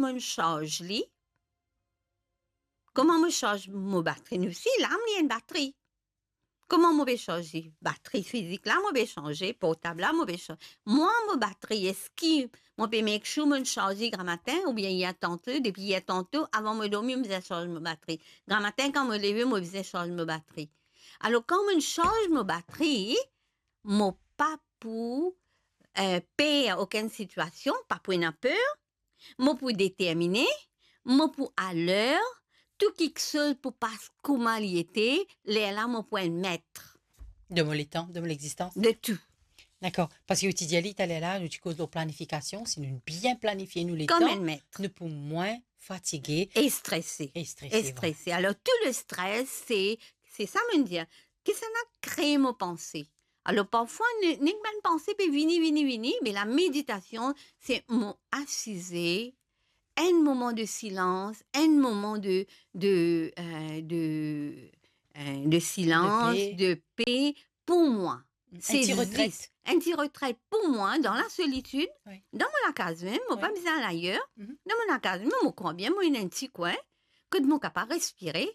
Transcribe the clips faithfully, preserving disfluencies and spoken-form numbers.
mo'nn sarz li? Kouma mo sarz mo batri? Nou si lam li enn batri. Kouma mo pe sarz li? Batri fizik la mo pe sanze, portab la mo pe sanze. Mwa mo batri, eski mo pe make sure mo'nn sarz li gramatin oubien yer tanto, depi yer tanto, avan mo dormi, mo bizin sarz mo batri? Gramatin, kan mo leve, mo bizin sarz mo batri. Alor, kan mo'nn sarz mo batri, mo pa pou, eh, per okenn sitiasion, pa pou ena per, mo pou determine, mo pou aler, tou kiksoz pou pas kouma li ete, lerla mo pou enn met. De mo letan, de mo lexistans. De tou. Dakor. Parski ou ti dir li taler la, nou ti koz lor planifikasion, si nou bien planifie nou letan, kom enn met, nou pou mwin fatige e strese. E strese, vwala. Alor, tou le stres, se, se sa mo'nn dir. Kisannla kre mo panse? Alor, parfwa, ne-, nek bann panse pe vini, vini, vini, me lameditasion, se mo asize, enn moman de silans, enn moman de, de, eh, de, eh, de silans, de pe, de pe pou mwa. Enn ti retret. Se zis enn ti retret pou mwa, dan lasolitid, wi, dan mo lakaz mem, mo pa bizin al ayer, dan mo lakaz mem, mo krwar bien mo ena enn ti kwin, kot mo kapav respire,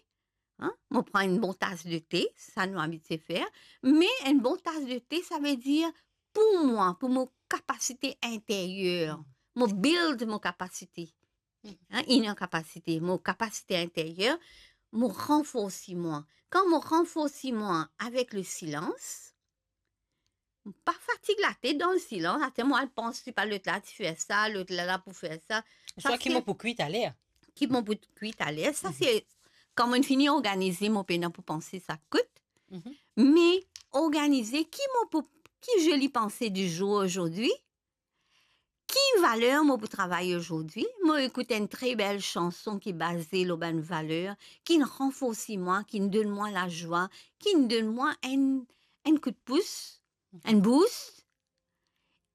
Hein? Mo pran enn bon tas de te, sa nou abitie fer, me enn bon tas de te, savedir pou mwa, pou mo kapasite interyer, mo build mo kapasite. Hein? Inner capacity, mo kapasite interyer, mo ranforsi mwa. Kan mo ranforsi mwa avek le silans, pa fatig latet dan silans, atann mo al pans, ti pa lot la ti fer sa, lot la la pou fer sa. Sa swa ki se mo pou kwi taler. Ki mo pou kwi taler. Sa se kan mo'nn fini organize mo pena pou panse sa kout. Me organize ki mo pou, ki zoli panse di zour azordi, ki valer mo pou travay azordi. Mo ekout enn tre bel sanson ki baze lor bann valer, ki'nn ranforsi mwa, ki'nn donn mwa lazwa, ki'nn donn mwa enn, enn kout pous, enn boost,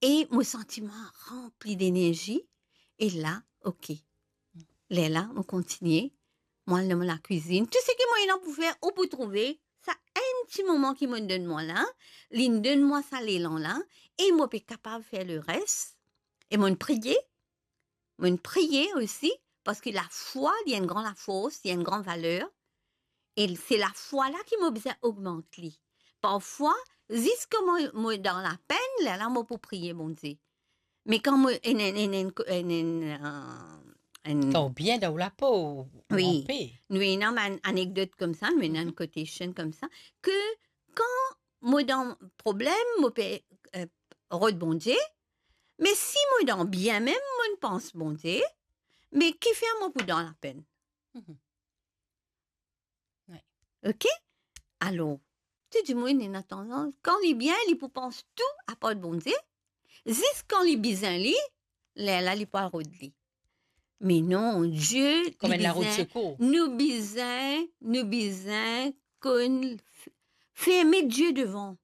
e mo santi mwa ranpli denerzi, e la, ok. Lerla, mo kontigne, mo al dan mo lakwizinn. Tou seki mo ena pou fer, ou pou trouve, sa enn ti moman ki mo'nn donn mwa la, li'nn donn mwa sa lelan la, e mo pe kapav fer leres, e mo'nn priye, Mo'nn priye osi, parski lafwa, li enn gran lafors, li enn gran valer. E se lafwa la ki mo bizin ogmant li. Parfwa, ziska mo, mo dan lapenn, lerla mo pou priye Bondie. Me kan mo enn, enn, enn, enn, enn, enn, eh, enn Kan ou bien dan ou lapo, ou, ou wi, anpe. Nou ena bann anekdot koumsa, nou ena enn kotation koumsa, ke kan mo dan problem, mo pe, eh, rod Bondie, me si mo dan bien mem, mo'nn pans Bondie, me kifer mo pou dan lapenn? Mhm. Wi. Ok? Alor, tou dimoun ena tandans, kan li bien, li pou pans tou apar Bondie, zis kan li bizin li, lerla li pou al rod li. Me non, Die, Kouma li enn larout bizin, sekour. Nou bizin, nou bizin konn f-, fer met Die devan.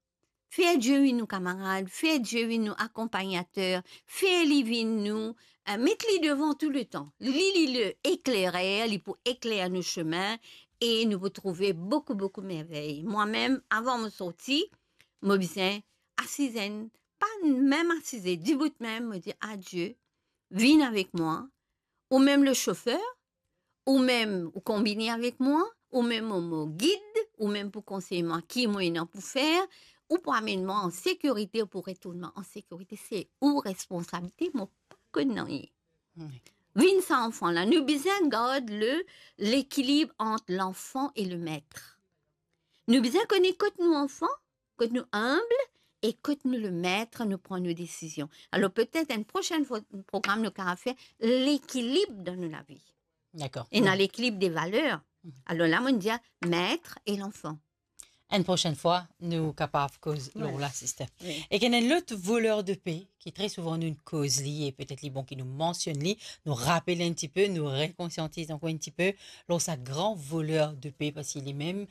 Fer Die vinn nou kamarad, fer Die vinn nou akonpagnater, fer li vinn nou, eh, met li devan touletan. Li, li le eklerer, li pou ekler nou sime e nou pou trouve boukou, boukou mervey. Mwa mem, avan mo sorti, mo bizin asiz enn, pa mem asize, dibout mem, mo dir, "A Die, vinn avek mwa, ou mem le sofer, ou mem ou konbine avek mwa, ou mem mo, mo gid, ou mem pou konsey mwa ki mo ena pou fer, ou pou amenn mwa an sekirite, ou pou retourn mwa an sekirite, se ou responsabilite, mo pa konn nanye." Wi. Vinn sa anfan la, nou bizin gard le, lekilib ant lanfan e le met. Nou bizin kone kot nou anfan, kot nou inb e kot nou le met, nou pran nou desizion. Alor, petet enn prosenn fwa, program nou kapav fer lekilib dan nou lavi. Dakor. Ena lekilib de valer. Mhm. Alor la, mo'nn dir met e lanfan. Enn prosenn fwa, nou kapav koz lor la, sister. Wi. E ki ena enn lot voler de pe, ki tre souvan nou koz li, e petet li bon ki nou mansionn li, nou rapel enn tipe, nou rekonsiantiz ankor enn tipe, lor sa gran voler de pe, parski li mem,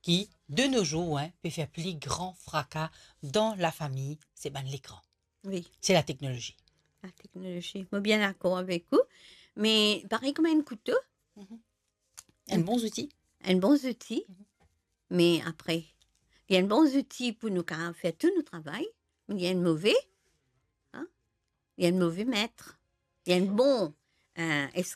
ki, de nos jours, hein, pe fer pli gran fraka dan lafami, se bann lekran. Wi. Se lateknolozi. Lateknolozi. Mo bien dakor avek ou. Me parey kouma enn kouto. Mhm. Enn bon zouti. Enn bon zouti. Mhm. Me apre, li enn bon zouti pou nou kapav fer tou nou travay. Me li enn move, hein? Li enn move met. Li enn bon, eh, es-,